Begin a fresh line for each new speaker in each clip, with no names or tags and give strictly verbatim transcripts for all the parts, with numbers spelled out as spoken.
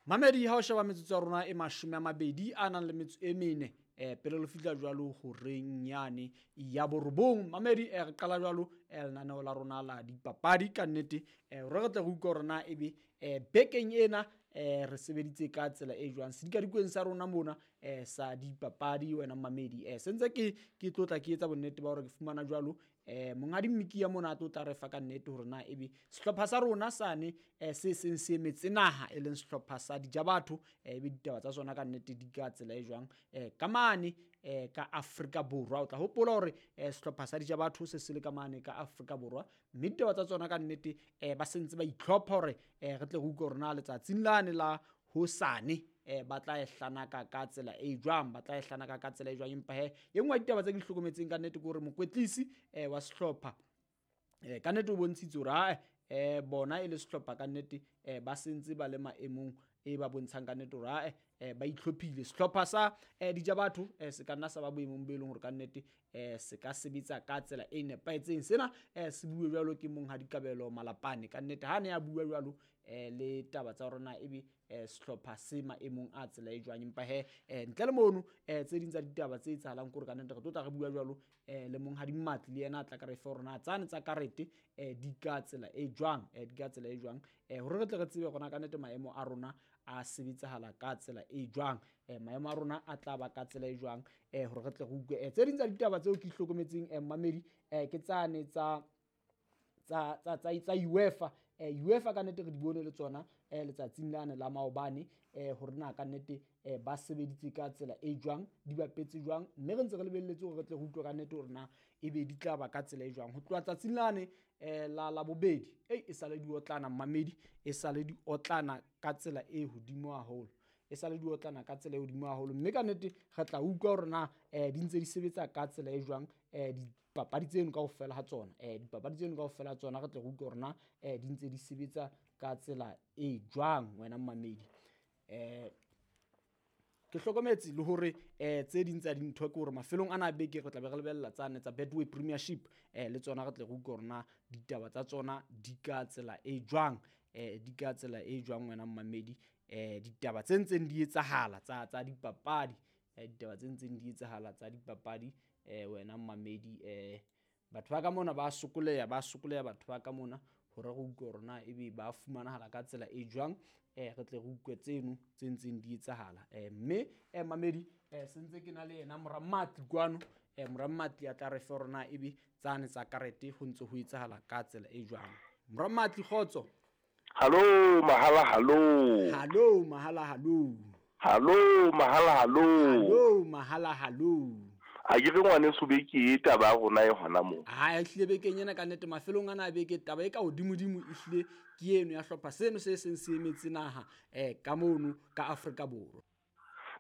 Mamedi ha o sheba metsotso ya rona e mashome a mabedi a nang le metso e mene eh pele le fihla jwalo horeng yane ya borobong. Mamedi eh re qala jwalo eh lenaneo la rona la dipapadi ka nnete eh re re tle re utlwe hore na ebe eh bekeng ena eh re sebeditse ka tsela e jwang sedikadikweng sa rona mona eh sa dipapadi wena mamedi. Eh sentse ke ke tlotla ke etsa bonnete ba hore ke fumana jwalo eh monghadi Mmikiya mona a tlo tla re fa ka nnete hore na ebe sehlopha sa rona sane eh se seng se emetse naha e leng sehlopha sa Dijabatho eh ebe ditaba tsa sona ka nnete di ka tsela e jwang eh ka mane eh ka Afrika Borwa. O tla hopola hore eh sehlopha sa Dijabatho se se le ka mane ka Afrika Borwa mme ditaba tsa tsona ka nnete eh ba sentse ba itlhopha hore eh re tle re utlwe hore na letsatsing lane la hosane eh ba tla e hlanaka ka tsela e jwang, ba tla e hlanaka ka tsela e jwang. Empa he e nngwe ya ditaba tse ke di hlokometseng ka nnete ke hore mokwetlisi eh wa sehlopha eh ka nnete o bontshitse hore ha eh bona e le sehlopha ka nnete eh ba sentse ba le maemong e ba bontshang ka nnete hore ha eh ba itlhophile. Sehlopha sa eh Dijabatho eh se ka nna sa ba boemong bo e leng hore ka nnete eh se ka sebetsa ka tsela e nepahetseng. Sena eh se bue jwalo ke monghadi Kabelo Malapane ka nnete ha ne a bua jwalo eh le taba tsa hore na ebe eh sehlopha se maemong a tsela e jwang. Empa he eh ntle le mono eh tse ding tsa ditaba tse etsahalang ke hore ka nnete re tlo tla re bua jwalo eh le monghadi Mmatli le yena a tla ka re fe hore na tsane tsa karete eh di ka tsela e jwang eh di ka tsela e jwang eh hore re tle re tsebe hore na ka nnete maemo a rona a sebetsahala ka tsela e jwang eh maemo a rona a tla ba ka tsela e jwang eh hore re tle re utlwe. Eh tse ding tsa ditaba tseo ke hlokometseng eh mamedi eh ke tsane tsa tsa tsa tsa tsa UEFA. Eh UEFA ka nnete re di bone le tsona eh letsatsing lane la maobane eh hore na ka nnete eh ba sebeditse ka tsela e jwang, di bapetse jwang, mme re ntse re lebelletse hore re tle re utlwe ka nnete hore na ebe di tla ba ka tsela e jwang. Ho tloha tsatsing lane eh la la bobedi ei e sale di otlana mamedi, e sale di otlana ka tsela e hodimo haholo, e sale di otlana ka tsela e hodimo haholo, mme ka nnete re tla utlwa hore na eh di ntse di sebetsa ka tsela e jwang eh dipapadi tseno kaofela ha tsona eh dipapadi tseno kaofela ha tsona re tle re utlwe hore na eh di ntse di sebetsa ka tsela e jwang wena mamedi. Eh ke hlokometse le hore eh tse ding tsa dintho ke hore mafelong ana a beke re tla be re lebella tsane tsa Betway Premiership eh le tsona re tle re utlwe hore na ditaba tsa tsona di ka tsela e jwang eh di ka tsela e jwang wena mamedi. Eh ditaba tse ntseng di etsahala tsa tsa dipapadi eh ditaba tse ntseng di etsahala tsa dipapadi eh wena mamedi. Eh batho ba ka mona ba sokoleha, ba sokoleha batho ba ka mona hore re utlwe hore na ebe ba fumanahala ka tsela e jwang eh re tle re utlwe tseno tse ntseng di etsahala. Eh mme eh mamedi eh sentse ke na le yena mora Mmatli kwano eh mora Mmatli a tla re fe hore na ebe tsane tsa karete ho ntse ho etsahala ka tsela e jwang. Mora Mmatli, kgotso.
Hallo mahala, hallo.
Hallo mahala, hallo.
Hallo mahala, hallo.
Hallo mahala, hallo.
A ke re ngwaneso beke e taba ya rona e hona moo.
Ha e hlile bekeng ena ka nnete mafelong ana a beke taba e ka hodimodimo e hlile ke eno ya hlopha seno se seng se emetse naha eh ka mono ka Afrika Borwa.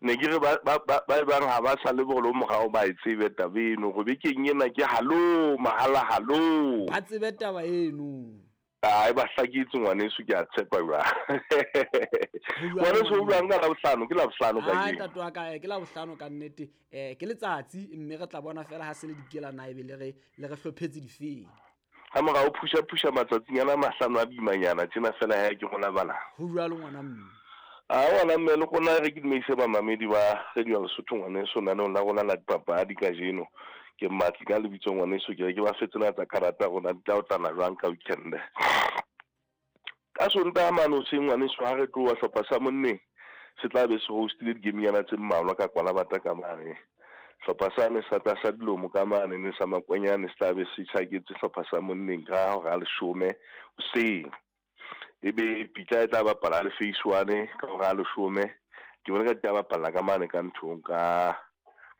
Ne ke re ba ba ba bang ha ba sa le bolo morao ba e tsebe taba eno go bekeng ena ke hallo mahala, hallo.
Ba tsebe taba eno.
Ai ba hlakitse ngwaneso ke a tshepa jwa. Ngwaneso o bua ka Labohlano, ke Labohlano ka
ke. Ai ntate wa ka ke Labohlano ka nnete eh ke letsatsi mme re tla bona fela ha se le dikela na ebe le re le re hlophetse difeng.
Ha morao phusha phusha matsatsing ana mahlano a bimanyana tjena fela ha ke rona bana.
Ho jwalo ngwana mme.
A ngwana mme le rona re ke dumeise ba mamedi ba Radio Lesotho ngwaneso naneong la rona la dipapadi kajeno. Ke Mmatli ka lebitso ngwaneso ke re ke ba fetse na tsa karata rona di tla otlana jwang ka weekend. Ka Sontaha mane hoseng ngwaneso ha re tloha hlopha sa monneng se tla be se hostile di-game-nyana tse mmalwa ka Kwalabata ka mane. Hlopha sane sa tlasa dilomo ka mane ne sa Makwanyane se tla be se tjhaketse hlopha sa monneng ka hora ya leshome hoseng. Ebe Pitla e tla bapala le Phase One ka hora ya leshome. Ke bona ka di tla bapala ka mane ka nthong ka